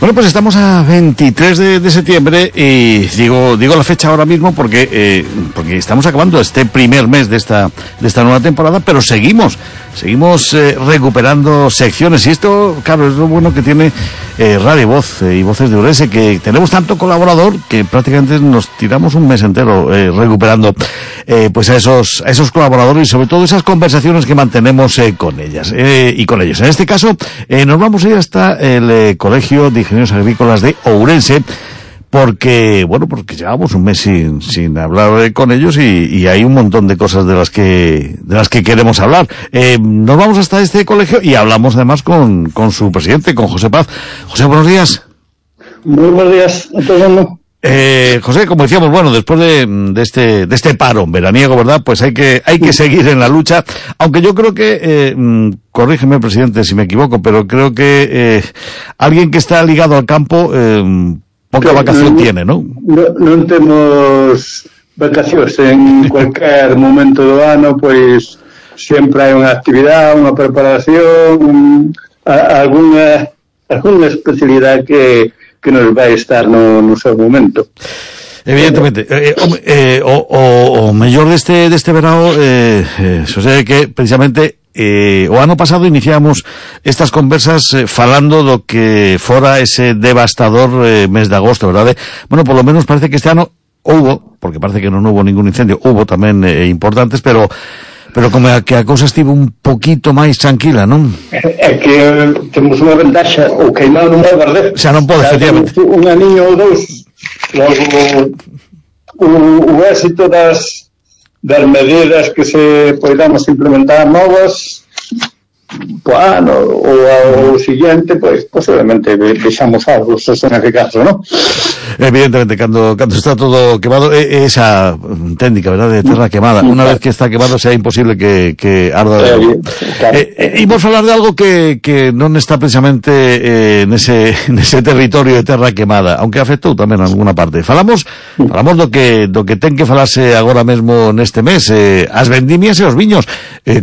Bueno, pues estamos a 23 de septiembre y digo la fecha ahora mismo porque estamos acabando este primer mes de esta nueva temporada, pero seguimos recuperando secciones, y esto, claro, es lo bueno que tiene Radio Voz y Voces de Ourense, que tenemos tanto colaborador que prácticamente nos tiramos un mes entero recuperando pues a esos colaboradores y sobre todo esas conversaciones que mantenemos con ellas y con ellos. En este caso nos vamos a ir hasta el Colegio de Ingenieros Agrícolas de Ourense, porque llevamos un mes sin hablar con ellos y hay un montón de cosas de las que queremos hablar. Nos vamos hasta este colegio y hablamos además con su presidente, con José Paz. José, buenos días. Muy buenos días a todo el mundo. José, como decíamos, bueno, después de este paro veraniego, ¿verdad? Pues hay que seguir en la lucha, aunque yo creo que, corrígeme, presidente, si me equivoco, pero creo que alguien que está ligado al campo, poca vacación tiene, ¿no? Non temos vacacións en cualquier momento do ano, pois sempre hai unha actividade, unha preparación, alguna especialidade que nos vai estar no seu momento. Evidentemente, o mellor deste verao, Xosé, que precisamente o ano pasado iniciamos estas conversas falando do que fora ese devastador mes de agosto, verdade? Bueno, por lo menos parece que este ano houbo, porque parece que non houbo ningún incendio, houbo tamén importantes, pero como que a cousa estivo un poquito máis tranquila, non? É que temos unha ventaxa, o queimado non vai perder. O sea, non pode, efectivamente. Un aniño ou dous, logo o éxito das medidas que se podamos implementar novas po ano ou o siguiente, pois posiblemente vexamos algo, se son eficaces, non? Evidentemente, cando está todo quemado, esa técnica, verdad, de terra quemada, unha vez que está quemado sea imposible que arda de novo. Imos falar de algo que non está precisamente nese territorio de terra quemada, aunque afectou tamén en alguna parte. Falamos do que ten que falarse agora mesmo neste mes, as vendimias e os viños.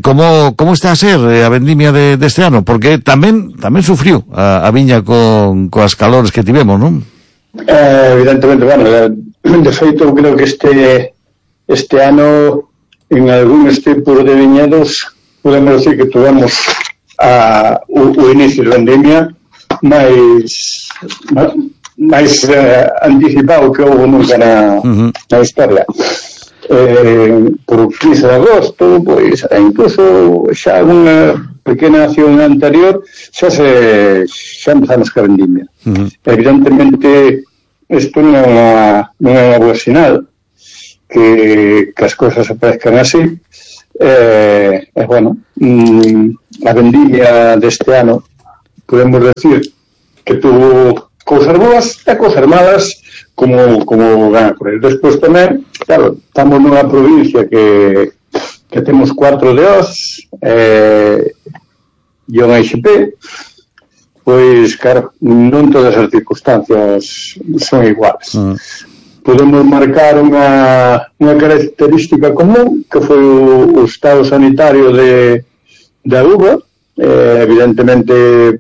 Como está a ser a vendimia deste ano? Porque tamén sufriu a viña coas calores que tivemos, non? Evidentemente, bueno, de feito creo que este ano en algúns tipos de viñedos podemos decir que tuvemos o inicio de vendimia máis anticipado que houve nunca na historia. Por 15 de agosto, pois incluso xa unha pequena acción anterior xa empezamos a vendimia. Evidentemente isto non é unha boa sinal que as cousas aparezcan así. Bueno, a vendimia deste ano podemos decir que tuvo cousas boas e cousas malas como van a correr. Despois tamén, claro, estamos nunha provincia que temos 4 DOs e un HP, pois, claro, non todas as circunstancias son iguales. Podemos marcar unha característica común, que foi o estado sanitario da uva. Evidentemente,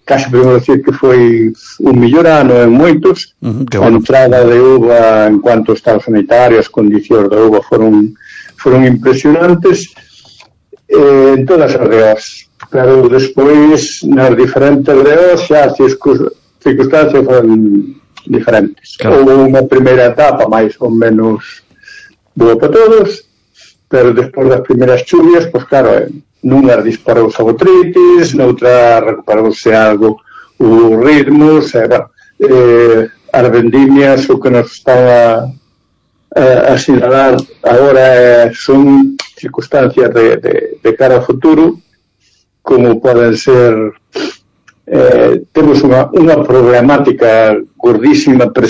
casi podemos decir que foi un mellor ano en moitos. A entrada de uva en cuanto ao estado sanitario, as condicións da uva foron impresionantes en todas as DOs. Claro, despois nas diferentes DOs xa as circunstancias foron diferentes. Houve unha primeira etapa máis ou menos boa para todos, pero despois das primeiras chuvias, pois claro, nunha disparouse a botritis, noutra recuperouse algo os ritmos, as vendimias, o que nos estaba a sinalar agora son circunstancias de cara ao futuro, como poden ser temos unha problemática gordísima